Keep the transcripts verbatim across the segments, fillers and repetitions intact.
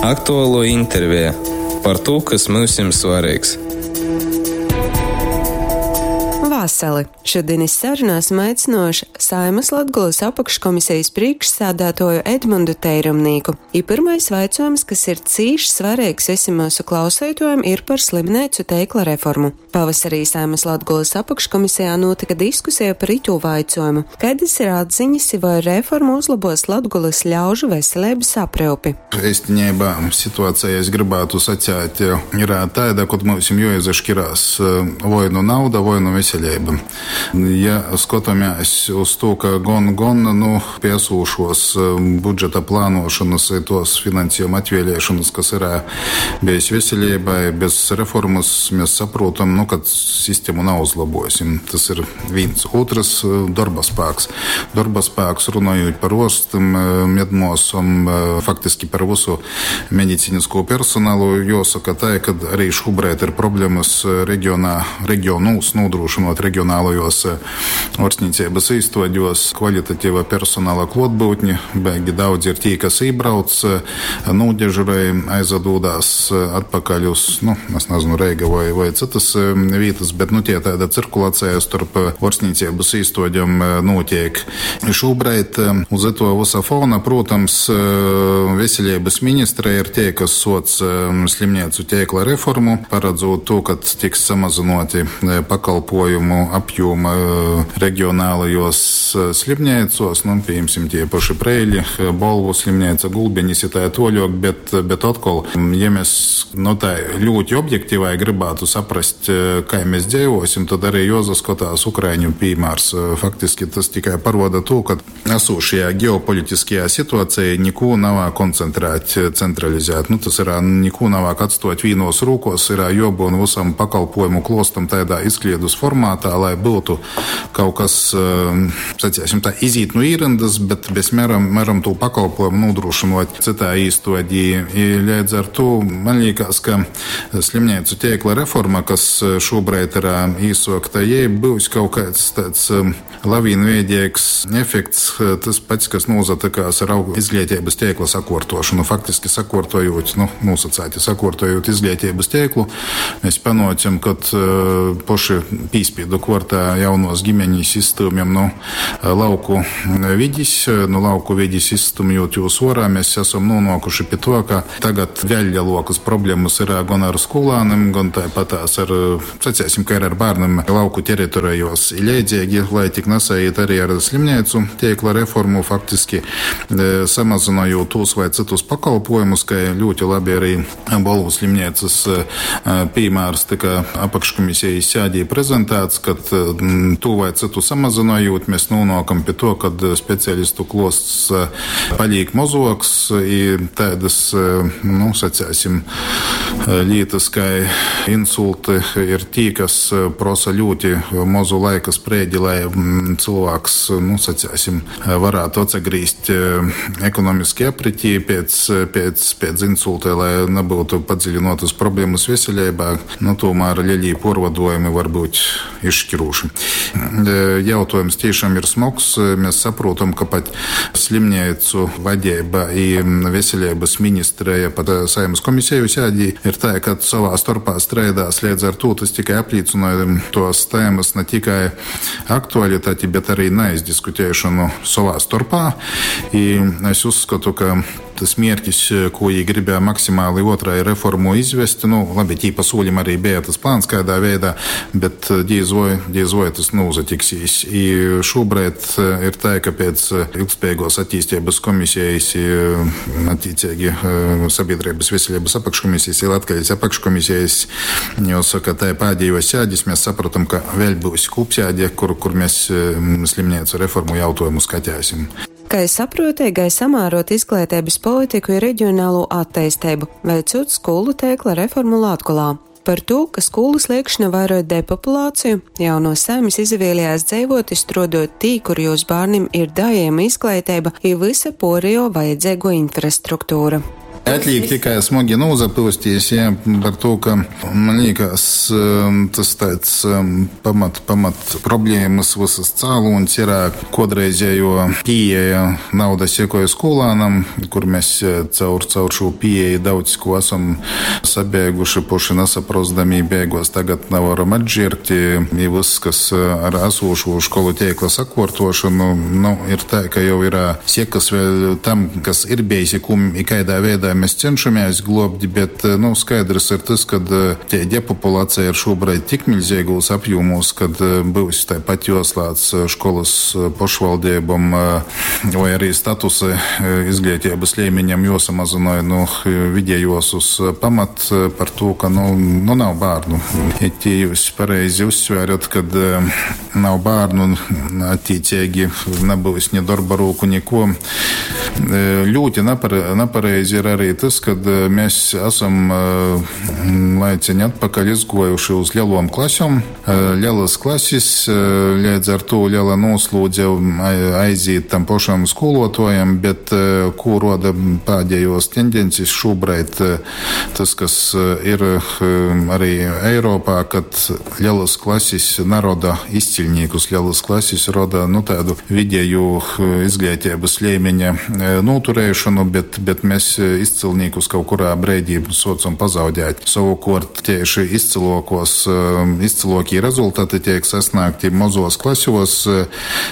Aktualuo interveja par tū, kas myusim svareigs. Vasali! Šodien iz sarunu esam aicinojuši Saeimas Latgolys apakškomisejis prīšksādātuoju Edmundu Teirumnīku. I pyrmais vaicuojums, kas ir cīši svareigs vysim myusu klauseituojim, ir par slimneicu teikla reformu. Pavasarī Saeimas Latgolys apakškomisejā nūtyka diskuseja par itū vaicuojumu. Kaidys ir atziņas i voi reforma uzlobuos Latgolys ļaužu veseleibys apryupi? Eistineibā situaceja, es grybātu saceit, ir taida, kod myusim juoizaškirās voi nu nauda, voi nu veseleiba. Ja skotamēs uz tū, ka gon, gon nu, pi esūšuos budžeta plānuošonys i tuos finansejuma atvieliešonys, kas ir bejs veseleibai, bez reformys mēs saprotam, nu, ka sistemu nauzlabosim. Tas ir vīns. Ūtrys - dorba spāks. Dorba spāks, runojūt par uorstim, medmuosom, faktiski par vysu mediciniskū personalu, juosoka tai, ka arī šūbreid ir problemys regionā, regionūs nūdrūšynuot regionālajos uorstnīceibys īstuodjos kvalitativa personala kluotbyutni. Baigi daudzi ir tī, kas ībrauc, nūdežurej, aizadūdās atpakaļ uz, nu, es nezinu, Reiga voi, voi cytys vītys, bet, nu, tie taida cirkulaceja storp uorstnīceibys īstuodjom nūtiek. Šūbreid uz ituo vysa fona, prūtams, Veseleibys ministreja ir tie, kas suoc slimneicu teikla reformu, paradzūt tū, ka tiks samazynuoti pakalpojumu apjūma regionālajos slimneicuos, nu, pījimsim, tie paši Preili, Bolvu slimneica, Gulbenis i tai tuoļuok, bet, bet otkol, ja mēs, nu, tai ļūti objektīvai grybātu saprast, kai mēs dzeivosim, tad arī juozaskotās ukraiņu pīmārs. Faktiski tas tikai paroda tū, ka esūšajā ģeopolitiskajā situācijā nikū navā koncentrēt, centralizēt. Nu, tas ir nikū navā atstot vīnos rūkos, ir juobyun vysam pakalpojumu klostam tādā izkliedus formātā, lai būtu kaut kas, saciesim tā, izīt nu īryndas, bet bez mēram, mēram tū pakalpojumu nūdrūšynot cytā īstuodī. I leidz ar tū man liekas, ka slimneicu teikla reforma, kas šobrīd ir īsokta, jai būs kaut kāds tāds lavīnveidīgs efekts, tas pats, kas nūzatikās ar izglītības teikla sakuortošanu. Faktiski sakuortojot, nu, nūsacēti sakuortojot izglītības teiklu, mēs panocam, kad poši pīspīdu kuortā jaunos ģimeņis izstūmjam nu lauku vidis, nu lauku vidis izstumjot jūs orā, mēs esam nonākuši pie to, ka tagad vēl lielākas problēmas ir gan ar skolānim, gan tāpatās ar, sacēsim, ka ir ar bērniem lauku teritorijos. Leidzīgi, lai tik nesaiet arī ar slimneicu teikla reformu, faktiski samazinojot tos vai citus pakalpojumus, ka ļoti labi arī Bolvu slimneicas piemērs tika apakškomisijas sēdī prezentēts, kad to vai citu samazinojot, mēs nonākam pie to, kad speciālistu klosts paliek mozoks i tādas, nu, sacēsim, lietas, kā insulti ir tī, kas prosa ļoti mozu laika sprēdi, lai cilvēks, nu, sacēsim, varētu atsagrīzt ekonomiski apritī pēc, pēc, pēc insulta, lai nebūtu padziļinotas problēmas veselībā, nu, tomēr lielie porvadojumi var būt izšķiroši. Jautājums tiešām ir smogs. Mēs saprotam, ka pat slimneicu vadība i veselības ministreja pat Saeimas komiseju sēdī ir tā, ka savā starpā streidās, līdz ar to tas tikai apliecināja tos tēmas ne tikai aktualitāti, bet arī neizdiskutēšanu savā starpā. I es uzskatu, ka tas mērķis, ko viņi gribēja maksimāli otrai reformu izvest, nu, labi, tī pa soļim arī bija tas plāns kādā veidā, bet diez voi, diez voi tas nozatiksīs. I šobrīd ir tā, ka pēc ilgspējīgos attīstības komisijas i attiecīgi sabiedrības veselības apakškomisijas i Latgales apakškomisijas, jāsaka, tā pēdējo sēdis mēs sapratam, ka vēl būs kopsēde, kur, kur mēs slimnīcu reformu jautājumu skatēsim. Kai saprotīgai samērot izglītības politiku i reģionālo attīstību, veicot skolu tēkla reformu Latgolā. Par to, ka skolu sliekšņa vairoj depopulāciju, jauno saimis izavēlējās dzeivot i strodot tī, kur jūs bārnim ir daejama izglītība i vysa puorejuo vajadzeiguo infrastruktūra. Atliek tikai smogi nūsapyustīs, jā, par to, ka man liekas, tas tāds pamat, pamat problēmas visas cēlonis ir kodreizējo pieeja nauda sekoja skolānam, kur mēs caur, caur šo pieeju daudz ko esam sabēguši, poši nesaprosdami beigos tagad nevaram atžirgt, i viss, kas ar esošo školu tīkla sakortošanu, nu, ir tā, ka jau ir sekas vēl tam, kas ir bijis, i kādā veidā mēs cenšamies globt, bet, nu, skaidrs ir tas, kad tie depopulācija ir šobrīd tik milzīgos apjomos, kad būs tāpat jāslēdz školas pašvaldībām vai arī statusa izglītības līmeņam jāsamazina, nu, vidējos uz pamat par to, ka, nu, nu nav bērnu. Ja tie jūs pareizi uzsverat, kad nav bērnu, attiecīgi nebūs ne darba rūku, neko. Ļoti napare, napareizi ir arī tas, kad mēs esam laiciņi atpakaļ izgojuši uz lielom klasēm. Lielas klases, līdz ar to liela noslūdze aiziet tam pašam skolotājam, bet ko roda pēdējos tendences šobrīd, tas, kas ir arī Eiropā, kad lielas klases naroda izciļniekus, lielas klases roda, nu, tādu vidēju izglītības līmeņa noturēšanu, bet, bet mēs izcilniekus kaut kurā brīdī socam pazaudēt. Savukārt tieši izcilokos, izcilokie rezultāti tiek sasniegti mazos klasos,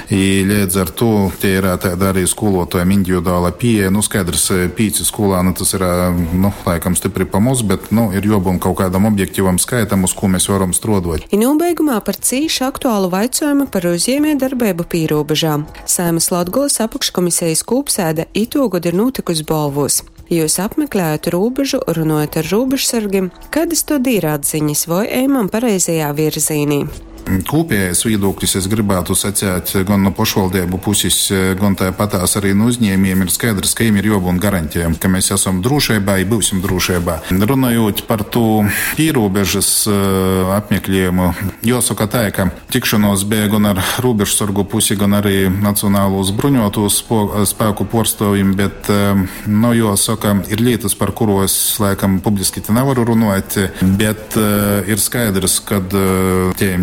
i līdz ar to tie ir tāda arī skolotājiem individuāla pieeja. Nu, skaidrs, pīci skolāni tas ir, nu, laikam stipri pa maz, bet, nu, ir jābūt kaut kādam objektīvam skaitam, uz ko mēs varam strodot. I nobeigumā par cīši aktuālu vaicojumu par uzņēmējdarbību pīrobežā. Saeimas Latgolas apakškomisijas kūpsēde itūgod ir notikusi Bolvos. Jūs apmeklējat robežu, runājat ar robežsargiem, kādas to ir atziņas voi ejam pareizajā virzīnī? Kopējais viedoklis, es gribētu sacīt, gan no pašvaldību puses, gan tāpatās arī no uzņēmējiem ir skaidrs, ka viņiem ir jābūt garantijām, ka mēs esam drošībā, ja būsim drošībā. Runājot par to pierobežas apmeklējumu, jāsaka tā, ka tikšanos bija gan ar robežsargu pusi, gan arī Nacionālos bruņoto spēku pārstāvjiem, bet, nu, jāsaka, ir lietas, par kuru es laikam publiski te nevaru runāt, bet ir skaidrs, kad tie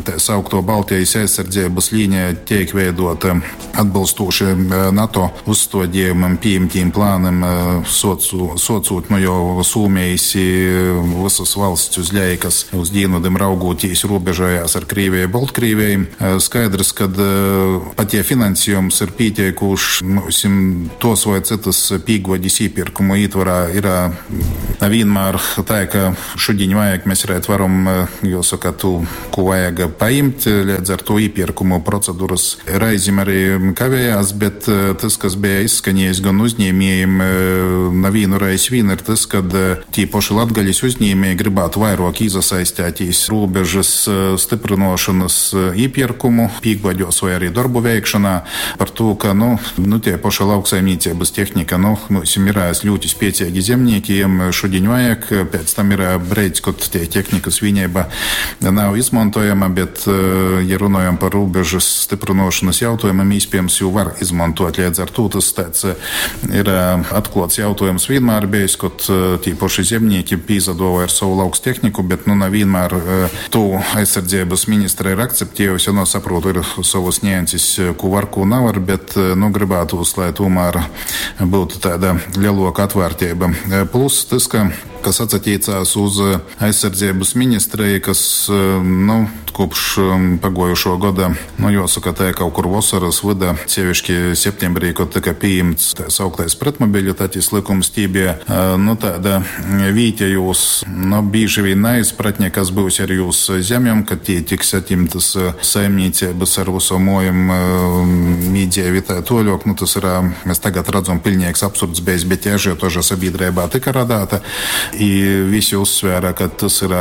tā saukto Baltijas aizsardzības līnija tiek veidota atbilstoši NATO uzstādījumam, pieņemtiem plānam, socu, socot nu jau Somijas visas valsts uz leju, kas uz dienvidiem raugoties robežojās ar Krieviju, Baltkrieviju. Skaidrs, kad pat ja finansējums ir pietiekušs, mums tos vai citas pīgodis iepirkumu ietvarā ir vienmēr tā, ka šodien vajag, mēs varētu varam, jāsaka, tu, ko vajag paimt, līdz ar to iepirkumu procedūras reizēm arī kavējās, bet tas, kas bija izskanējis gan uzņēmējiem, na vienu reizi vien, ir tas, kad tie paši latgaļas uzņēmēji gribētu vairāk iesaistīties robežas stiprinošanas iepirkumu, pīkbaģos vai arī darbu veikšanā, par to, ka, nu, nu tie paši lauksaimniecības tehnika, nu, mums ir ļoti spēcīgi zemnieki, jiem šodien vajag, pēc tam ir brīdis, kad tie tehnikas vienība nav izmantojama, bet, ja runājam par robežas stiprinošanas jautājumiem, iespējams, jau var izmantot. Līdz ar to tas tāds ir atklāts jautājums vienmēr bijis, kad tie paši zemnieki pīzadoja ar savu lauks tehniku, bet, nu, nevienmēr to aizsardzības ministra ir akceptējusi, ja, nu, saprotu, ir savas nianses, ko var, ko nevar, bet, nu, gribētos, lai tomēr būtu tāda lielāka atvērtība. Plus tas, ka kas atsaķīcās uz aizsardzības ministriju, kas, nu, kopš pagojušo gada, nu, jāsaka, tā kaut kur vasaras vida, sevišķi septembrī, kad tika pieņemts tā sauktais pretmobilitātes likums, tī bija, nu, tāda vītējos, nu, bieži vien neizpratne, kas būs ar jūs zemēm, kad tie tiks atimtas saimniecības ar visu mojam mīdzēvi tā toļok, nu, tas ir, mēs tagad redzam, pilnīgs absurds bijis, bet tie ažiotaža sabiedrībā tika radāta. I visi uzsvēra, ka tas ir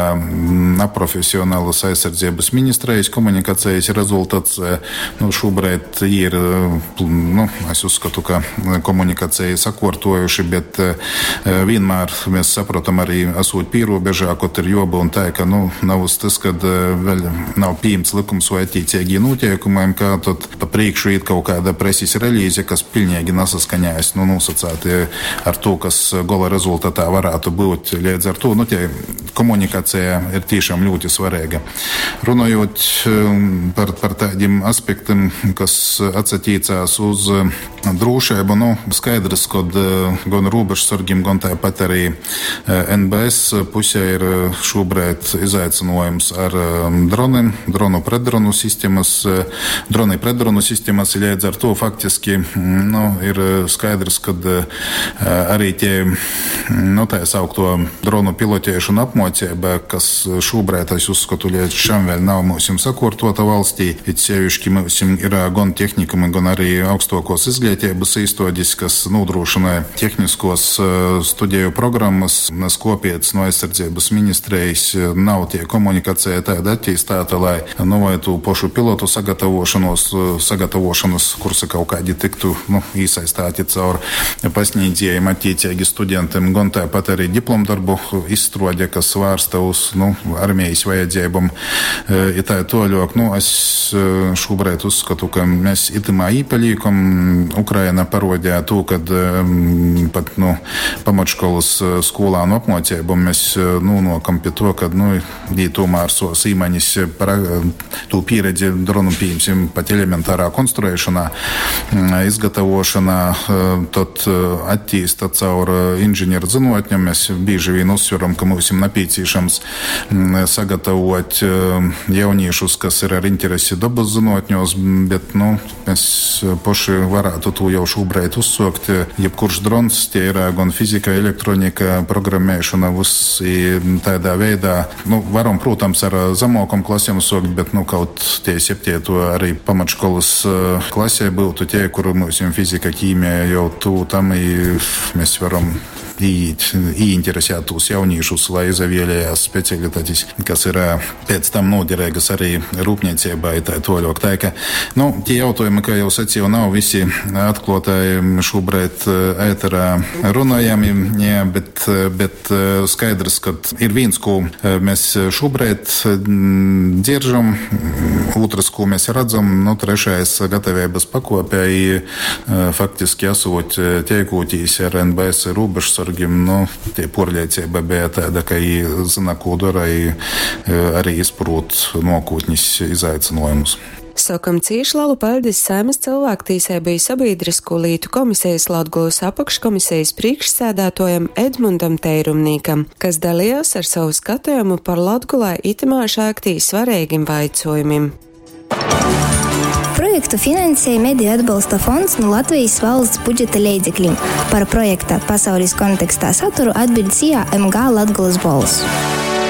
neprofesionāls aizsardzības ministrijas komunikācijas rezultats. Nu, šobrīd ir, nu, es uzskatu, ka komunikācija sakortojuši, bet vienmēr mēs saprotam arī esot pierobežā, kaut ir jābūt tā, ka, nu, nav uz tas, kad vēl nav pieņemts likums vai attiecīgi noteikumiem, ka tad pa priekšu iet kaut kāda preses relīze, kas pilnīgi nesaskaņājas, nu, nosacāti ar to, kas gola rezultatā varētu būt. Līdz ar to, nu, tie komunikācija ir tiešām ļoti svarīga. Runājot par, par tādiem aspektiem, kas atsatīcās uz drošību, nu, skaidrs, kad gan robežsargiem, gan tāpat arī N B S pusē ir šobrīd izaicinājums ar droniem, dronu pretdronu sistēmas, droni pretdronu sistēmas, līdz ar to faktiski, nu, ir skaidrs, kad arī tie, nu, tā saukto dronu pilotēšana apmocība, kas šobrīd, es uzskatu, līdz šam vēl nav mums sakortota valstī, it sevišķi mums ir gan tehnikumi, gan arī augstākos izglītības īstoģis, kas nodrošina tehniskos studiju programmas, nes kopiec no aizsardzības ministrijas nav tie komunikācija tāda attīstīta, lai, nu, vai tu pašu pilotu sagatavošanos, sagatavošanas kursi kaut kādi tiktu, nu, īsaistāti caur pasniedzējiem, attiecīgi studentiem, gan tāpat arī diplomdarbu izstrode, kas vērsta uz, nu, armijas vajadzībām. I tā toļok, nu, es šobrīd uzskatu, ka mēs itimā īpaļīkam. Ukraina parodīja to, kad pat, nu, pamatškolas skolānu apmocībām mēs nonākam pie to, kad, nu, jī tomēr savas īmaņas par to pieredzi dronu, pieņemsim, pat elementārā konstruēšanā, izgatavošanā, tad attīsta caur inženieru zinātņiem. Mēs bieži vien uzsveram, ka mums ir nepieciešams sagatavot jauniešus, kas ir ar interesi dabas zinātņos, bet, nu, mēs paši varētu to jau šobrīd uzsākt. Jebkurš drons, tie ir gan fizika, elektronika, programmēšana, viss tādā veidā. Nu, varam, protams, ar zemākam klasēm sākt, bet, nu, kaut tie septieto arī pamatškolas klasē būtu tie, kur mums fizika, ķīmija jau tuvu tam, i mēs varam ieinteresēt tos jauniešus, lai izavēlējās specialitātes, kas ir pēc tam noderīgas arī rūpniecībai tā toļok. Tā ka, nu, tie jautājumi, kā jau sacīju, nav visi atklātai šobrīd ēterā runājami, jā, bet, bet skaidrs, ka ir viens, ko mēs šobrīd dzieržam, otrs, ko mēs redzam, nu, trešais gatavības pakopē, faktiski esot tiekotīs ar N B S robežsargiem, nu, tie porliecība bija tāda, ka viņi zina, ko dara, arī izprot nākotnes izaicinājumus. Sokam cīši lalu paļdis Saeimas cilvēktīsību i sabiedrisko lītu komisijas Latgulas apakškomisijas priekšsēdētojam Edmundam Teirumnīkam, kas dalījās ar savu skatījumu par Latgulai itamā šāktī svarīgim vaicojumim. Projektu finansēja Mediju atbalsta fonds no Latvijas valsts budžeta leidzekļiem. Par projekta pasaules kontekstā saturu atbild S I A M G Latgulas bols.